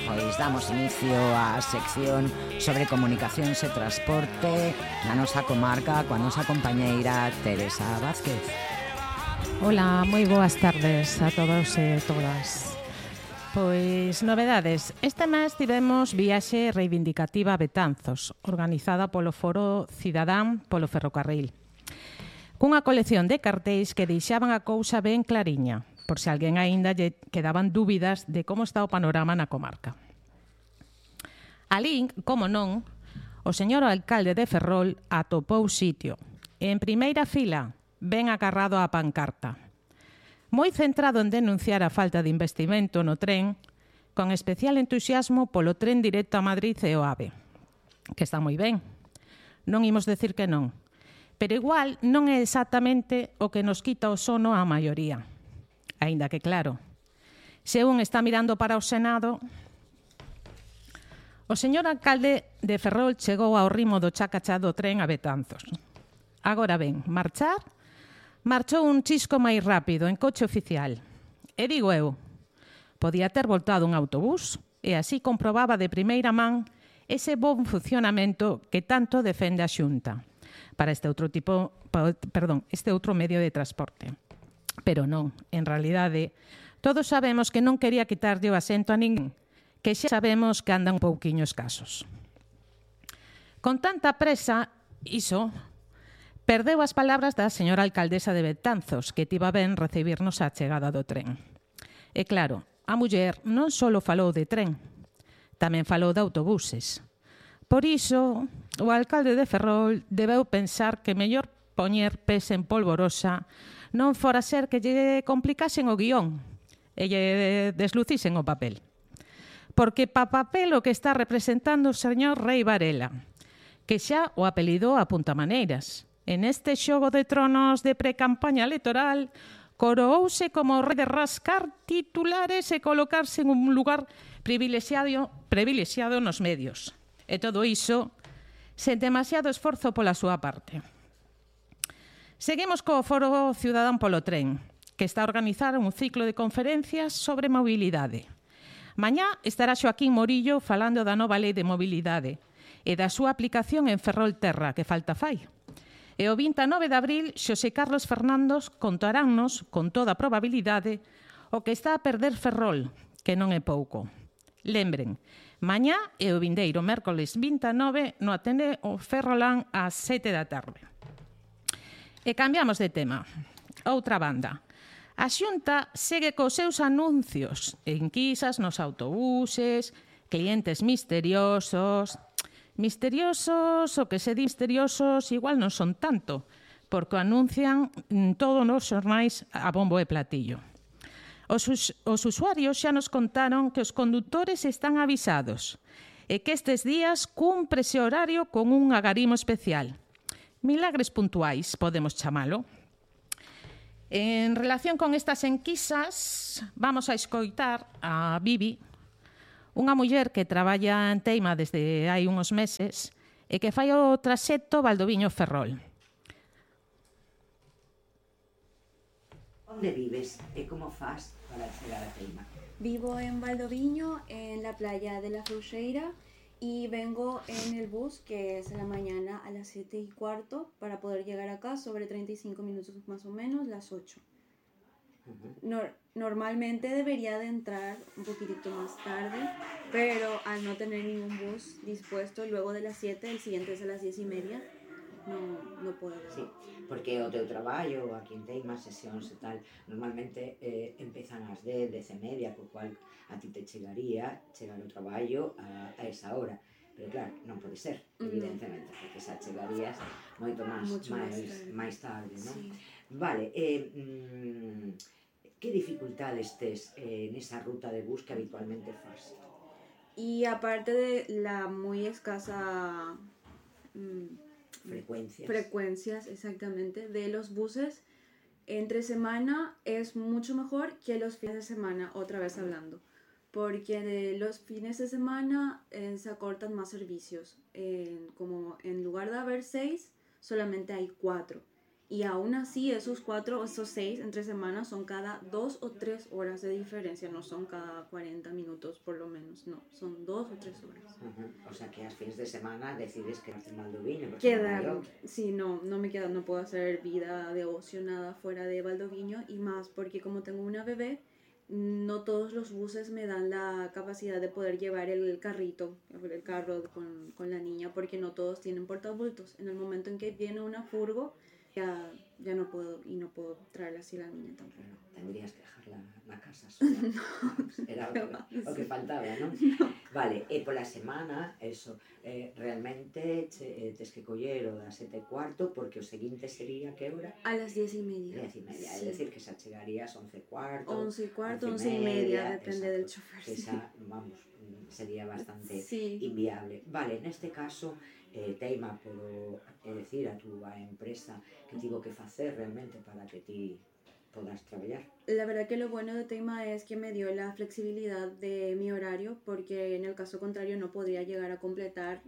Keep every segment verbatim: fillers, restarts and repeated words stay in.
pois damos inicio á sección sobre comunicacións e transporte na nosa comarca coa nosa compañeira Teresa Vázquez. Hola, moi boas tardes a todos e todas. Pois, novedades. Este mes tivemos viaxe reivindicativa a Betanzos, organizada polo Foro Cidadán polo Ferrocarril, cunha colección de cartéis que deixaban a cousa ben clariña, por se alguén aínda lle quedaban dúbidas de como está o panorama na comarca. Alí, como non, o señor alcalde de Ferrol atopou sitio. En primeira fila, ben agarrado á pancarta. Moi centrado en denunciar a falta de investimento no tren, con especial entusiasmo polo tren directo a Madrid e o AVE, que está moi ben. Non imos decir que non, pero igual non é exactamente o que nos quita o sono á maioría. Aínda que claro, se un está mirando para o Senado, o señor alcalde de Ferrol chegou ao ritmo do chacachá do tren a Betanzos. Agora ben, marchar, marchou un chisco máis rápido en coche oficial. E digo eu, podía ter voltado un autobús e así comprobaba de primeira man ese bon funcionamento que tanto defende a Xunta para este outro tipo, perdón, este outro medio de transporte. Pero non, en realidade, todos sabemos que non quería quitarlle o asento a ninguén, que xa sabemos que andan un pouquiño escasos. Con tanta presa, iso, perdeu as palabras da señora alcaldesa de Betanzos, que tiva ben recibirnos a chegada do tren. E claro, a muller non só falou de tren, tamén falou de autobuses. Por iso, o alcalde de Ferrol debeu pensar que mellor poñer pés en polvorosa non fora ser que lle complicasen o guión e lle deslucisen o papel. Porque pa papel o que está representando o señor Rei Varela, que xa o apelidou a puntamaneiras. En este xogo de tronos de pre-campaña electoral, coroouse como rei de rascar titulares e colocarse en un lugar privilexiado, privilexiado nos medios. E todo iso sen demasiado esforzo pola súa parte. Seguimos co Foro Cidadán polo Tren, que está a organizar un ciclo de conferencias sobre mobilidade. Mañá estará Xoaquín Morillo falando da nova lei de mobilidade e da súa aplicación en Ferrol-Terra, que falta fai. E o vinte e nove de abril, Xosé Carlos Fernandos contaránnos, con toda probabilidade, o que está a perder Ferrol, que non é pouco. Lembren, mañá e o vindeiro mércoles vinte e nove no Ateneo Ferrolán ás sete da tarde. E cambiamos de tema. Outra banda. A Xunta segue cos seus anuncios, enquisas nos autobuses, clientes misteriosos. Misteriosos, o que se di misteriosos, igual non son tanto, porque anuncian todos os xornais a bombo e platillo. Os, os usuarios xa nos contaron que os condutores están avisados e que estes días cumpre ese horario con un agarimo especial. Milagres puntuais, podemos chamalo. En relación con estas enquisas, vamos a escoitar a Bibi, unha muller que traballa en Teima desde hai uns meses e que fai o traxecto Valdoviño-Ferrol. Onde vives e como faz para chegar a Teima? Vivo en Valdoviño, en la playa de la Frouxeira, y vengo en el bus que es en la mañana a las siete y cuarto para poder llegar acá sobre treinta y cinco minutos más o menos, las ocho. Uh-huh. Nor- normalmente debería de entrar un poquitito más tarde, pero al no tener ningún bus dispuesto luego de las siete, el siguiente es a las diez y media, no, no puedo. Sí, porque o teu traballo, aquí en Teima, sesións e tal, normalmente eh, empezan ás dez, dez e media, co cual a ti te chegaría chegar o traballo a, a esa hora. Pero claro, non pode ser, evidentemente, porque xa chegarías moito máis, máis, máis tarde, non? Sí. Vale, eh, mmm, que dificultades tes eh, nesa ruta de bus que habitualmente fas? Y aparte de la muy escasa... Mmm, frecuencias. Frecuencias, exactamente, de los buses entre semana es mucho mejor que los fines de semana, otra vez hablando, porque de los fines de semana eh, se acortan más servicios, eh, como en lugar de haber seis, solamente hay cuatro, Y aún así, esos cuatro o esos seis entre semanas son cada dos o tres horas de diferencia, no son cada cuarenta minutos por lo menos, no, son dos o tres horas. Uh-huh. O sea que a fines de semana decides quedarte en Valdoviño. Quedar, sí, no, no me quedo, no puedo hacer vida de ocio, nada fuera de Valdoviño, y más porque como tengo una bebé, no todos los buses me dan la capacidad de poder llevar el carrito, el carro con, con la niña, porque no todos tienen portabultos. En el momento en que viene una furgo, ya, ya no puedo, y no puedo traerla así la niña tampoco. Tendrías que dejarla en la casa sola. No, era lo que, lo que faltaba, ¿no? No. Vale, e pola semana, eso, eh, realmente che, eh, tes que coller o das sete e cuarto, porque o seguinte sería que hora? A las diez y media. Diez y media, sí. É dicir, que xa chegarías once e cuarto. Once e cuarto, once e media, depende exacto, del chofer. Que xa, vamos, sería bastante sí. inviable. Vale, neste caso, eh, teima por é dicir a túa empresa que tivo que facer realmente para que ti podas traballar. La verdad que lo bueno de Teima es que me dio la flexibilidad de mi horario, porque en el caso contrario no podría llegar a completar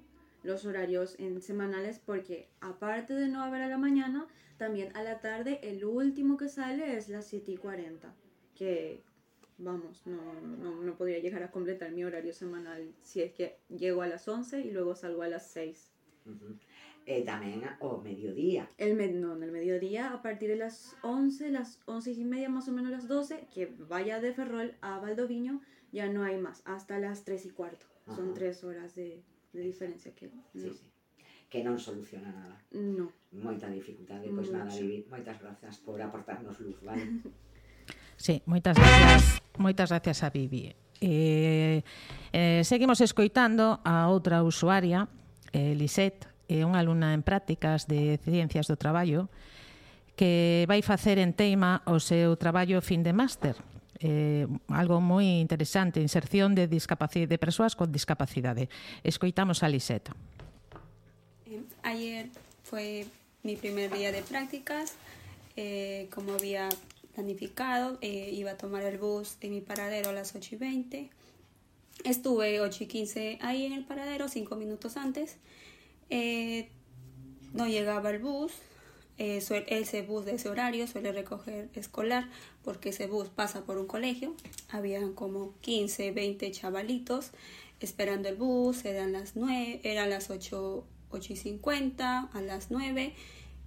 los horarios en semanales, porque aparte de no haber a la mañana, también a la tarde el último que sale es las siete y cuarenta, que vamos, no, no, no podría llegar a completar mi horario semanal si es que llego a las once y luego salgo a las seis. Uh-huh. Eh, tamén o mediodía. El med no, en el mediodía, a partir de las once, las once y media, más o menos las doce, que vaya de Ferrol a Valdoviño, ya no hay más, hasta las tres y cuarto. Ajá. Son tres horas de, de diferencia que no. Sí, sí. Que non soluciona nada. No. Moita dificultade, pois nada, Vivi, moitas grazas por aportarnos luz, vale? Sí, moitas gracias, moitas gracias a Vivi. Eh, eh, seguimos escoitando a outra usuaria, eh, Lisette, é unha alumna en prácticas de Ciencias do Traballo que vai facer en Teima o seu traballo fin de máster. Eh, algo moi interesante, inserción de, discapacidade, de persoas con discapacidade. Escoitamos a Lisette. Eh, ayer fue mi primer día de prácticas. Eh, como había planificado, eh, iba a tomar el bus en mi paradero a las ocho y veinte. Estuve ocho y quince ahí en el paradero, cinco minutos antes. Eh, no llegaba el bus, eh, ese bus de ese horario suele recoger escolar, porque ese bus pasa por un colegio. Habían como quince, veinte chavalitos esperando el bus, eran las nueve, eran las ocho, ocho y cincuenta, a las nueve,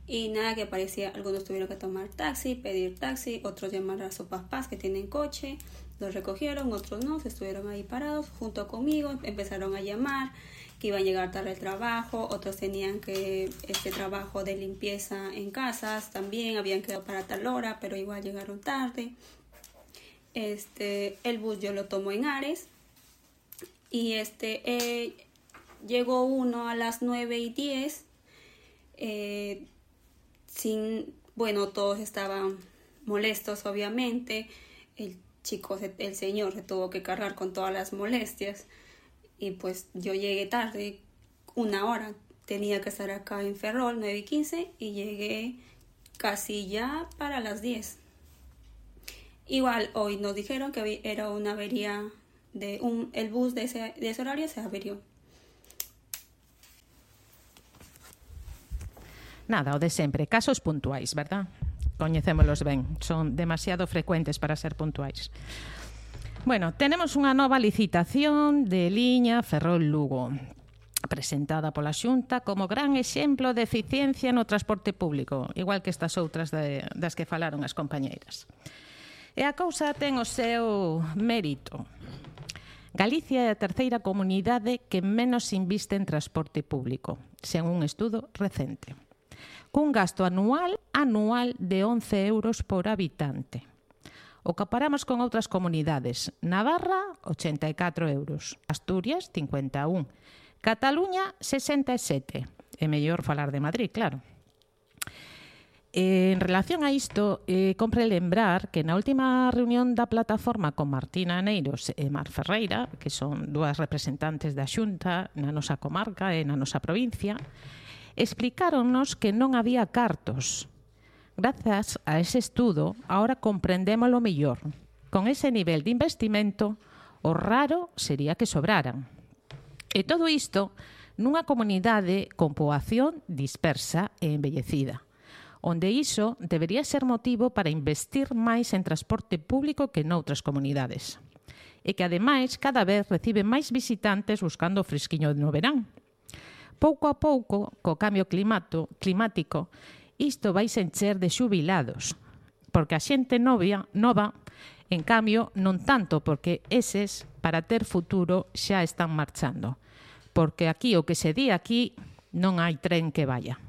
y nada que parecía. Algunos tuvieron que tomar taxi, pedir taxi, otros llamar a sus papás que tienen coche, los recogieron, otros no, se estuvieron ahí parados junto conmigo, empezaron a llamar que iban a llegar tarde al trabajo, otros tenían que este trabajo de limpieza en casas, también habían quedado para tal hora, pero igual llegaron tarde. Este, el bus yo lo tomo en Ares, y este eh, llegó uno a las nueve y diez, eh, sin, bueno, todos estaban molestos obviamente, el chico, el señor se tuvo que cargar con todas las molestias. Y pues yo llegué tarde, una hora, tenía que estar acá en Ferrol, nueve y quince, y llegué casi ya para las diez. Igual hoy nos dijeron que era una avería, de un, el bus de ese, de ese horario se averió. Nada, o de sempre, casos puntuais, verdad? Coñecémolos ben, son demasiado frecuentes para ser puntuais. Bueno, tenemos unha nova licitación de liña Ferrol-Lugo, presentada pola Xunta como gran exemplo de eficiencia no transporte público, igual que estas outras de, das que falaron as compañeiras. E a cousa ten o seu mérito. Galicia é a terceira comunidade que menos inviste en transporte público, según un estudo recente, cun gasto anual anual de once euros por habitante. O comparamos con outras comunidades. Navarra, ochenta e catro euros. Asturias, cincuenta e un. Cataluña, sesenta e sete. É mellor falar de Madrid, claro. En relación a isto, eh, compre lembrar que na última reunión da plataforma con Martina Aneiros e Mar Ferreira, que son dúas representantes da Xunta na nosa comarca e na nosa provincia, explicáronnos que non había cartos. Grazas a ese estudo, ahora comprendémolo mellor. Con ese nivel de investimento, o raro sería que sobraran. E todo isto nunha comunidade con poboación dispersa e envellecida. onde iso debería ser motivo para investir máis en transporte público que noutras comunidades. E que, ademais, cada vez recibe máis visitantes buscando o fresquiño no verán. Pouco a pouco, co cambio climato, climático, isto vai se encher de xubilados, porque a xente novia, nova, en cambio, non tanto, porque eses, para ter futuro, xa están marchando. Porque aquí, o que se di aquí, non hai tren que vaya.